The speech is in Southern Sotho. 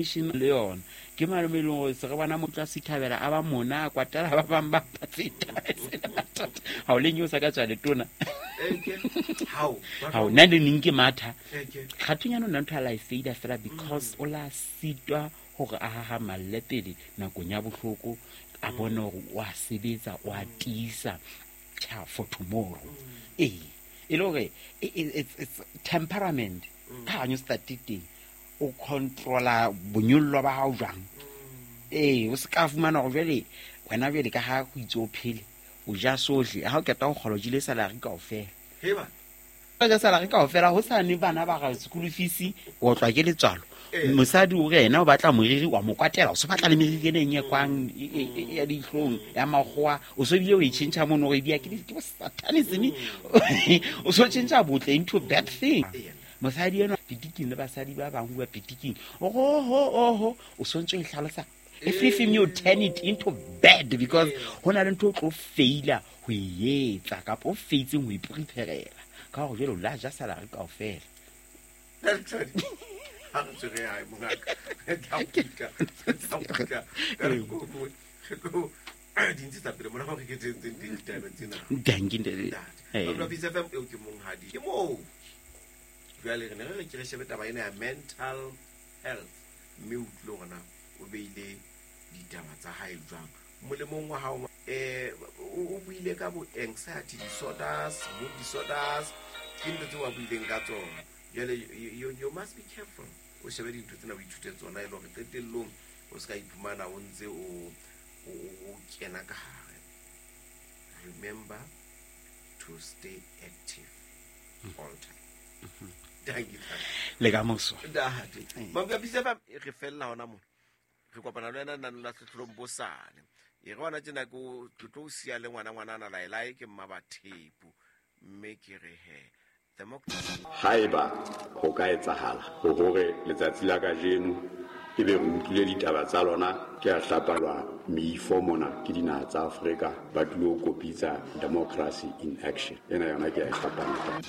Le yona ke malome e leng gore se re bona motho a sithabela a ba mona a kwatela ba bang ba feta ga o leng o sa ka tswa letona ga o nna le neng ke matha kgathonyana o nna ntho a la e faida fela because o la sitwa gore a gagamalle pele nakong ya botlhoko a bone gore o a sebetsa o a tiisa for tomorrow. Ee, e le gore it's temperament ka ganyo state teng o controla bonyollo ba gago jwang. Ee, o se ka fumana gore jale wena jale ka ga go itse o phele o ja sohle ga o keta go kgola o jile salary kao fela, o ja salary kao fela go sane bana ba ga school fees o otlwa ke letswalo. Mosadi o re ena o batla moriri wa mo kwatela o se batla le meriri ene e nyekwang ya ditlhong ya magoa o so ebile o e change mono gore ebia ke bo satanism o so change botle into bad thing. Mosadi eno pitiking le basadi ba bangwe bua pitiking oho oho o swantse o e tlhalosa everything, you turn it into bad because go na le ntho o tlo faila go e etsa kapa o faitseng go ipreparela ka gore jale o la ja salary kao fela. Ha re tswere hae mongaka, re tla kgutla, re tla kgutla ka nako e nngwe. Re tlo di ntshetsa pele mona gore ke tsentseng teng ditaba tsena. Dankie, ntate. Ntate. Batho ba Peace FM, eo ke monghadi ke moo. Jwale re ne re re ke re shebe taba ena ya mental health mme o utlwile hore na o beile ditaba tsa hae jwang molemong wa hao. O buile ka bo anxiety disorders, mood disorders, ke ntho tseo a buileng ka tsona. Jwale you must be careful, o shebe dintho tsena, o ithute tsona e le hore qetellong o se ka iphumana o ntse o kena ka hare. Remember to stay active all time. Thank you. Le ka moso. Ntate. Mamka Peace FM, re fella hona mona. Re kopana le wena nano la hlohlolong bosane. E re hona tjena ke o ke tlo o siya le ngwana ngwanana laelae ke mma Bathepu. Mme ke re he. Haeba ho ka etsahala hore letsatsi la kajeno ebe re utlwile ditaba tsa lona ke a hlapalwa meifo mona ke dinaha tsa Afrika ba tlilo kopitsa democracy in action ena yona ke a e hlapanya.